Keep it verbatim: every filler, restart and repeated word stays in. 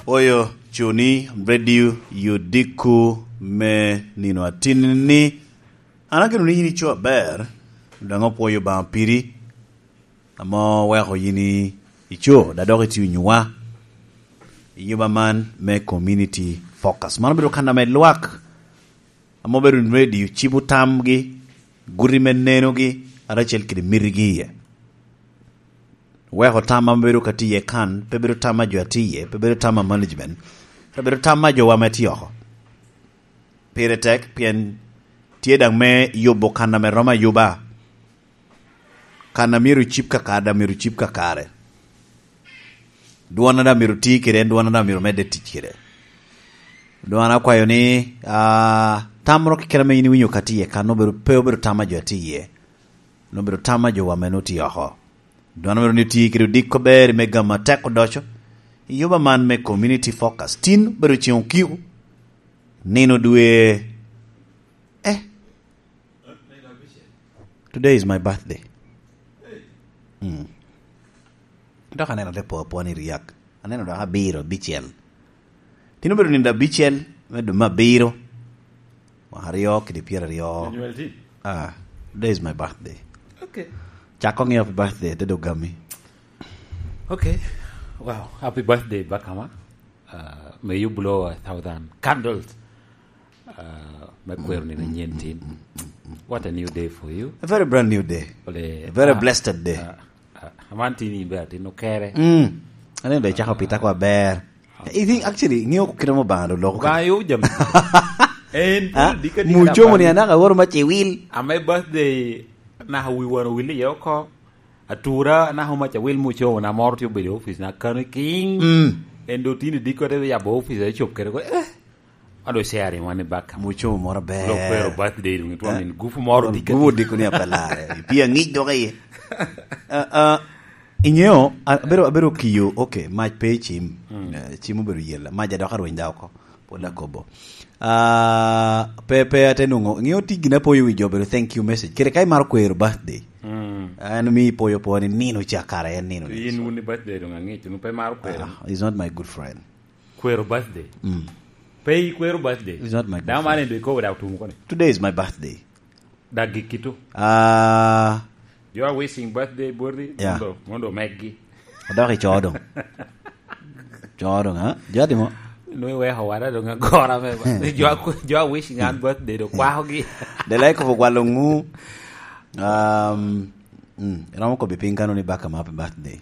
Pwoyo cuni, Radio Yodiko me nino atin ni, an ageno ni yin ico aber, dong opwoyo Obaŋa piri, ame oweko yin i-, ico, da dok itio nyuwa, i nyuba man me Community Focus. Man obedo kan ame lwak, ame obedo radio, cibo tamgi, guti me nenogi, aracel kede mitigi iye. Weko tam ame bedo ka tye iye kan, pe bedo tam a jo a tye iye, pe bedo tam a management, pe bedo tam a jowa ame tye oko. Pire tek, pien tye daŋ me yubo kan ame romo ayuba. Kan a myero ocib kakare, daŋ myero ocib kakare. Dwon a daŋ myero oti kede en, dwon a daŋ myero medde tic kede. Dwon akwayo ni, ah, tam moro keken ame yin iwinyo ka tye iye kan, obedo, pe obedo tam a jo a tye iye. Nongo obedo tam a jowa ame nongo tye oko. Dwon amito ni oti kede odiko aber me gamo atek odoco i yuba man me Community Focus. Tin obedo ceŋ okiko, nino dwe, eh, today is my birthday. Mm. Dok aneno te po apwony i ryak. Aneno dok abiro, abicel. Tin obedo nino abicel me dwe me abiro, mwaka aryo kede pyeraryo. Anywal tin? Ah, today is my birthday. Okay. Cak koŋ i happy birthday, te dog gami. Okay. Wow, happy birthday, Bakama. Uh, may you blow a thousand candles. Uh, me kwero nino anyen tin. What a new day for you. A very brand new day. Ole, A very ah, blessed day. Ah, ah, aman tin in be atin okere. Mm. Ane be cako pita kwa ber. I think actually, ng'eyo kit amo Obaŋa do loko. Obaŋa yo jami. En Ah, pwod dika dika mucomo ni daka anaka woro mac i wil. Ame birthday naka wi wan owil iye oko. Atura naka mac awil mucomo na moro tye obedo i office na kano king. Mm. En do tini diko te yabo office a cop kere ko. Eh. Ado sharing wan i baka. Mucomo moro ber. Lo kwero birthday dong itwam Eh? in gufu moro dika Gufu dika. Diko ni apelare. Pi aŋic dok iye. Ah, ah, Iŋeo, a-, abedo, abedo kiyo, okay, mac pe i cim. Mm. Eh, cim obedo yela. Mac adok arweny da oko. Pwod akobo. Ah, pe, pe ate nwoŋo. Iŋeo ti gin apoyo wi jo obedo thank you message. Kere ka imaro kwero birthday. Mm. An mi ipoyo po ni nino ca kara en nino ni. Yin wun i birthday dong aŋic, wun pe maro kwero. Ah, he's not my good friend. Kwero birthday. Mm. Pe ikwero birthday. He's not my good Dama friend. Mane do ikobo da otum koni. Today is my birthday. Dagi kito. Ah. Jo a wishing birthday boti, Yeah. mondo, mondo meggi. Adok i coo dong. Coo dong, ha? Jo atimo? Nwe weko wara dong agora me ba. Jo a, jo a wishing an birthday do kwakogi. De lai kobo gwalo ŋu. Um, mm, iromo kobi piny kano ni baka ma happy birthday.